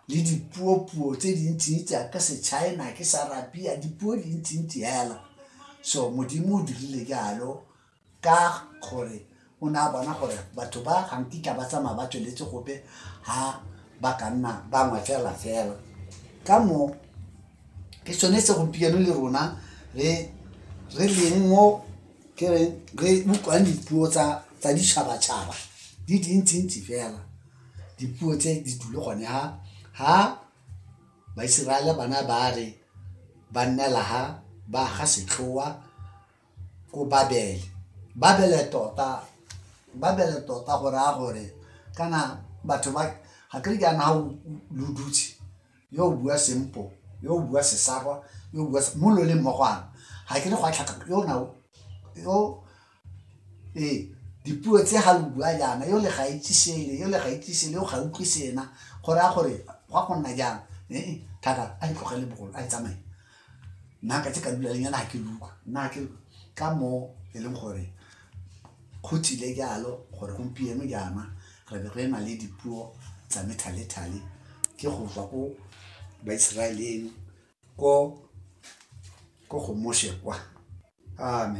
Le dipuopuo tse dintsintsi ka se-China ke sa-Arabia, dipuo dintsintsi hela. So Modimo o dirile jalo ka gore o ne a bona gore batho ba ga nkitla ba tsamaya ba tsweletse gope ha ba ka nna bangwe fela fela. Ka moo ke sone se gompieno le rona re re leng mo ke reng re utlwang dipuo tsa ditšhabatšhaba di dintsintsi fela. Dipuo tse di dule gone ha ha Baiseraele bana ba re ba nnela ha ba ga setlhoa ko Babele. Babele tota, Babele tota go raya gore kana batho ba ga kere jaana ha lo dutse yo o bua Sempo, yo o bua Sesarwa, yo o bua mo lo leng mmogo ga ke re go a tlhaka yo nao yo ee dipuo tse ga lo bua jaana yo le ga itse sele, yo le ga itse sele, yo ga utlwe sena, go raya gore go a go nna jang ee thaka a e tlogele bogolo a e tsamaye. Nna ka tse ka dula lenyana ga ke le utlwa nna ke ka mo e leng gore go tsile jalo gore gompieno jaana re be re na le dipuo tsa methalethale ke go tswa ko Baiseraeleng ko go Moshe kwa. Amen.